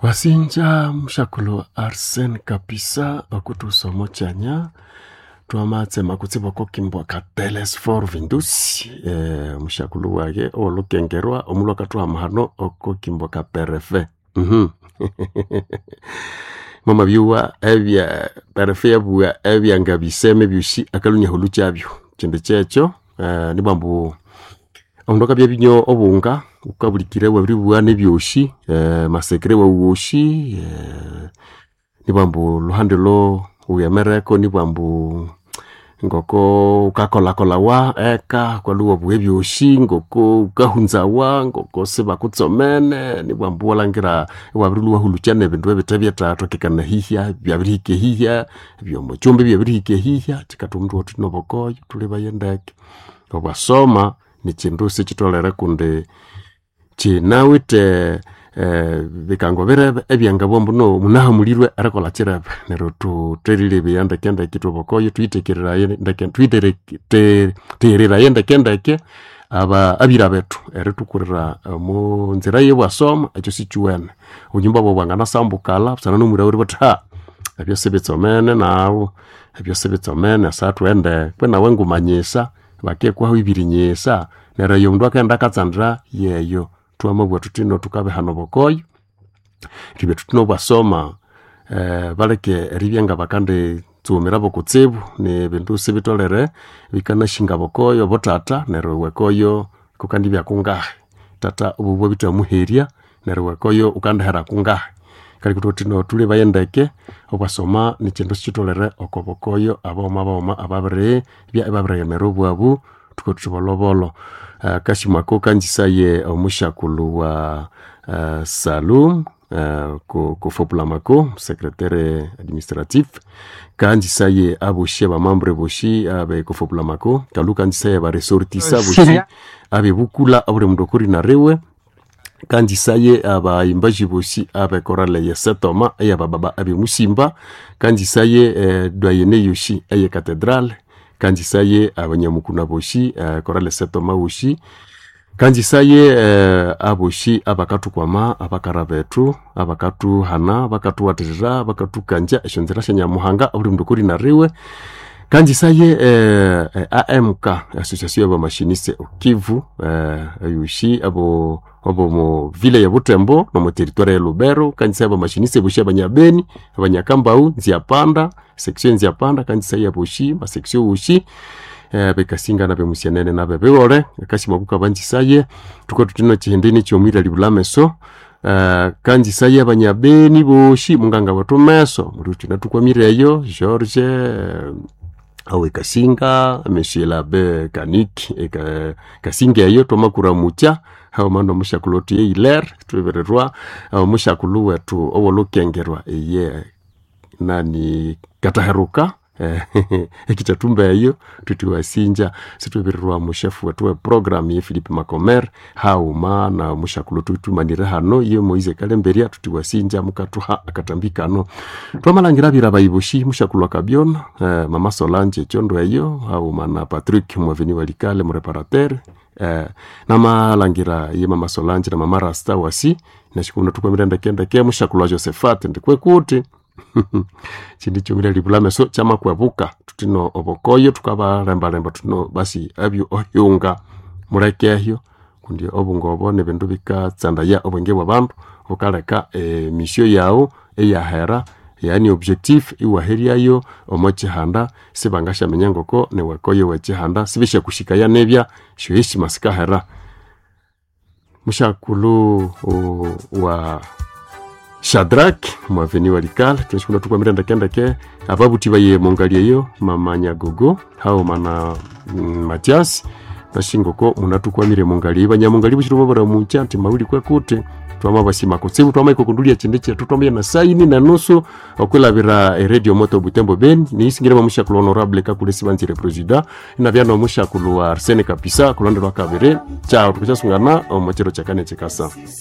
Wasinja mushakulhu Arsene Kapisa okuthusa omo kyanya twamatsema kutsibu okwa ka Telesfor Vindusi mushakulhu wayi owolhukengerwa omulhwe akathuha amahano okwa ka Perefe. Mwamabyowa ebya Perefe yabugha ebyangabiseme ebyosi akalhwa inahulhukyabyo. Kyindi kyekyo nibwambu omundu akabya abinywa obunga ghukabulikira iwabiribugha nebyosi, amasekere waghu wosi, nibwambu olhuhandi olho ghughemereko nibwambu ngoko ghukakolhakolawa eka ghukalhwa iwabugha ebyosi, ngoko ghukahunzawa, ngoko sibakutsomene, nibwambu iwalhangira iwabirilhwa iwahulhukya nebindu ebithe byethathokekana eyihya byabirihika eyihya, ebyomukyumba ibyabirihika eyihya, kyikatuma ithwabugha thuthi nobukoyo thulhebaye ndeke. Obwasoma nikyindu sikyitholere kundi kyinawithe bikango birebe ebyangabugha ambu no munahamulirwe erikolha kirebe. Neryo thutherilebaya ndekendeke ithwe bokoyo thuyithekereraye ndeke thuyithegheraye ndekendeke abyira bethu erithukurira omo nzira eyobwasoma ekyo sikyuwene. Obunyumba bwaghu bwanganasambukalha busana nomwira wiwe eribugha athi haa ebyo sibitsomene naghu, ebyo sibitsomene esaha thughende kwe nawe ngumanyisa, bakikuha ibirinyisa neryo eyo omundu akaghenda akatsandira yeyo. Thwamabugha thuthi ino thukabihana obukoyo eribya thuthi nobwasoma baleke eribya ngabakanditsughumira kutsibu nibindu sibitholere bikanasinga obukoyo obuthatha neryo iwe koyo kukandibya kungahi. Thatha obubu bwabithamuherya neryo iwe koyo ghukandihera kungahi. Kaleka ithwabugha thuthi no thulhebaye ndeke obwasoma nikyindu sikyitholere oko bukoyo abaghuma baghuma ababiribya ibabirighemera obwabu thukabugha thuthi bolhobolho. Akasimo ako kanzisaye omusyakulhu wa Salum kofopulhamako secretaire administratif, kanzisaye abosi abamembre bosi abe kofopulhamako, kalhu kanzisaye abaresortissa abosi abebukulha obuli mundu okorinariwe, kanzisaye abayimbaji bosi abe chorale eye Setoma eyabababa abemusimba, kanzisaye doyenne yosi eye cathedral, kanzisaye abanyamukuna bosi chorale Setoma wosi, kanzisaye abosi abakathukwama abakara bethu abakathuhana bakathuwathikya bakathukangya esyonzira syanyamuhanga obuli mundu okorinariwe, kanzisaye AMK association yabamashiniste okivu eyosi abomo ville ye Butembo nomo territoire ye Lubero, kanzisaye abamashiniste bosi abanyabeni, abanyakambaghu, nziapanda, section nziapanda, kanzisaye abosi amasection wosi abekasinga nabemusyanene nabebihole, akasimo ako kabanzisaye thukabugha thuthi nekyihindi nikyomwira libulha ameso, kanzisaye abanyabeni bosi munganga wethu meso mulhi thunathukwamire eyo George owekasinga, monsieur l'abe Kaniki Kasinga eyo twamakuramukya haghuma nomusyakulhu wethu ye Hilaire thwibirirwa omusyakulhu wethu owolhukengerwa iye nani Kathaheruka ekithathumba eyo thuthi wasinja sithwibirirwa omushefu wethu we program ye Philip Macomer haghuma nomusyakulhu thuthumanire hano ye Moise Kalemberya thuthi wasinja mukathuha akathambi kano. Thwamalhangira abira bayi bosi musyakulhu Akabyona, mama Solange ekyondo eyo haghuma na Patrick mwaveni walikale mureparateur, namalhangira ye mama Solange na mama Rasta wasi nesyikuna thukwamire ndekendeke musyakulhu wa Josephat ndikwekuthi kyindi kyomwira libulha ameso kyamakwebuka thuthi no obukoyo thukabalembalemba thuthi no basi abyo ohyunga mulekehyo kundi obunga obo nibindu bikatsandaya obwenge bwabandu bukaleka emisyo yaghu iyahera yani objectif iwaheryayo omo kyihanda sibangasyaminya ngoko niwekoyo wekyihanda sibisyakusikaya nibya esyoheshima sikahera. Musyakulhu wa Shadrack mwaveni walikale thwasyakulha thukwamire ndekendeke ababuthi baye mongali eyo mama Nyagogo haghuma na Mathias nashingoko munathukwamire mongali eyo banyamungali bosi thwamabaramukya nthi mawuli kwekuthi twamabasima kutsibu twamahika kyindi kyethu twamabya na saini nenusu okwilhabira e radio moto Butembo Beni niyisingire mwamusyakulhu honorable Kakule Sibanzire president inabya nomusyakulhu wa Arsene Kapisa kulhonde lwakabiri kyawu thukasyasungana omo kyiro kyakani kyikasa.